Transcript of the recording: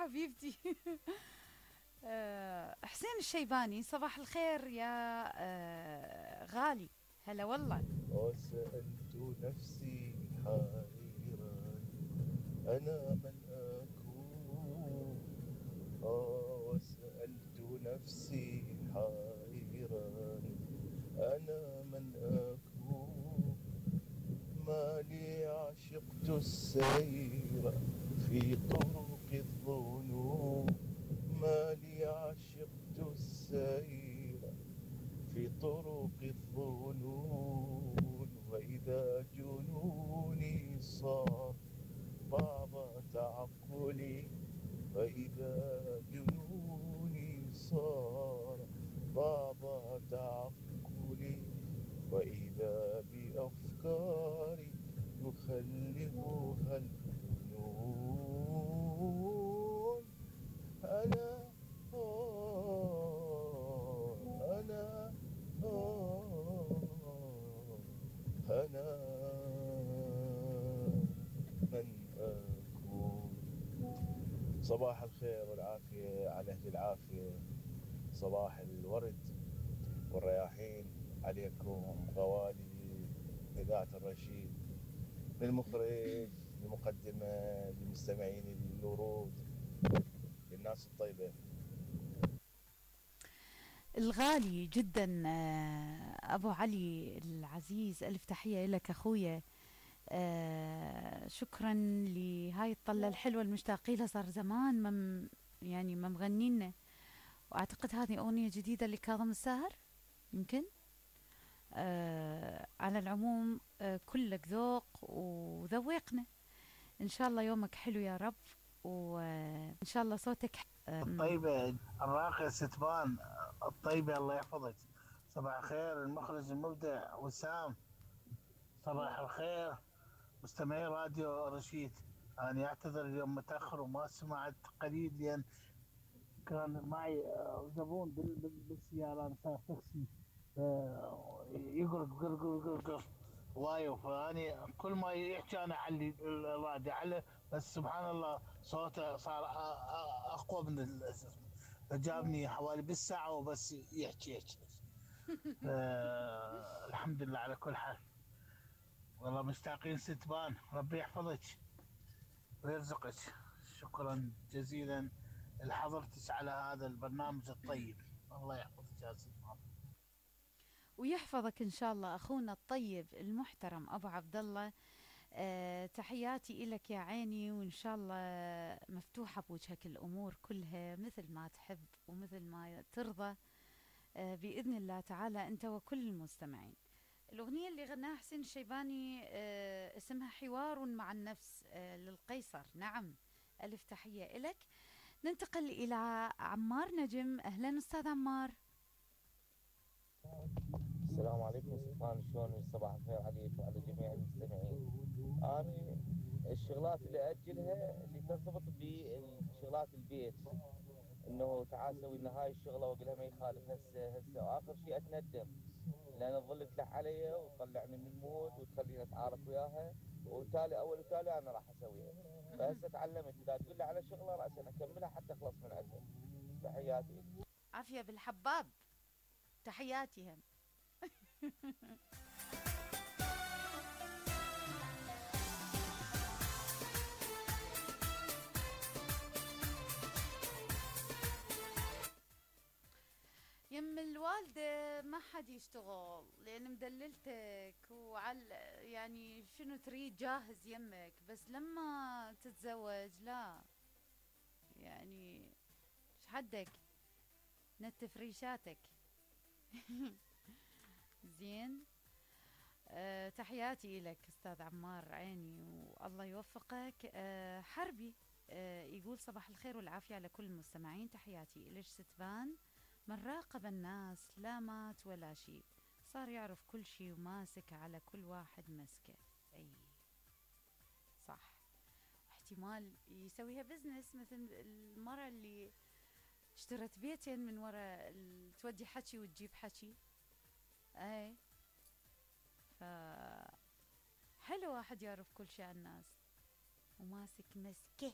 حبيبتي. حسين الشيباني، صباح الخير يا غالي. هلا والله. وسألت نفسي حائرا أنا من أكون. وسألت نفسي حائرا أنا من أكون. ما لي عشقت السير في طرق الظنون. ما لي عشقت السير في طرق الظنون. وإذا جنوني صار بعض تعقلي. وإذا جنوني صار بعض تعقلي. وإذا بأفكاري يخلفها الجنون. أنا أنا أنا من أكون. صباح الخير والعافية على أهل العافية. صباح الورد والرياحين عليكم غوالي إذاعة الرشيد. للمخرج، للمقدمة، للمستمعين الورود، للناس الطيبة. الغالي جدا ابو علي العزيز، الف تحيه لك اخويا. شكرا لهاي الطلة الحلوة المشتاقين لها، صار زمان يعني ما مغنينا. واعتقد هذه اغنية جديدة لكاظم الساهر يمكن. على العموم كلك ذوق وذوقنا. ان شاء الله يومك حلو يا رب، وان شاء الله صوتك الطيبة الراقية ستبان الطيبة، الله يحفظك. صباح الخير المخرج المبدع وسام. صباح الخير مستمعي راديو رشيد. أنا أعتذر اليوم متأخر وما سمعت قليل، لأن كان معي زبون بالسيارة. أنا سائق تاكسي يقرق قرق قرق قرق وايو، فاني كل ما يحكي انا اعلي الراديو على، بس سبحان الله صوته صار اقوى من فجابني حوالي بالساعه وبس يحكي. الحمد لله على كل حال. والله مشتاقين ستبان، ربي يحفظك ويرزقك. شكرا جزيلا لحضرتك على هذا البرنامج الطيب. الله يحفظك يا ستبان ويحفظك ان شاء الله اخونا الطيب المحترم ابو عبد الله. تحياتي إلك يا عيني، وإن شاء الله مفتوحة بوجهك الأمور كلها مثل ما تحب ومثل ما ترضى. بإذن الله تعالى أنت وكل المستمعين. الأغنية اللي غناها حسين الشيباني اسمها حوار مع النفس للقيصر. نعم، ألف تحية إلك. ننتقل إلى عمار نجم. أهلا أستاذ عمار. السلام عليكم سلطان، شلونك؟ صباح الخير عليك وعلى جميع المستمعين. أنا الشغلات اللي أجلها اللي ترتبط بشغلات البيت، إنه تعال سوي لنا هاي الشغلة وأقولها ما يخالف هسه وآخر شيء أتندم، لأن تظل تلح علي وتطلعني من المود وتخليني أتعارك وياها، وتالي أول وتالي أنا راح أسويها. فهسه تعلمت إذا تقول لي على شغلة رأسا أكملها حتى أخلص من عندها. تحياتي. عافية بالحباب. تحياتي هم. يم الوالدة ما حد يشتغل لأن مدللتك وعل، يعني شنو تريد جاهز يمك، بس لما تتزوج لا، يعني ايش حدك نتف ريشاتك. زين. تحياتي لك استاذ عمار عيني والله يوفقك. حربي يقول صباح الخير والعافية على كل المستمعين. تحياتي إليش ستبان. من راقب الناس لا مات ولا شيء، صار يعرف كل شيء وماسك على كل واحد مسكه. اي صح. احتمال يسويها بزنس مثل المرة اللي اشترت بيتين من وراء تودي حكي وتجيب حكي. اي ف حلو واحد يعرف كل شيء عن الناس وماسك مسكه.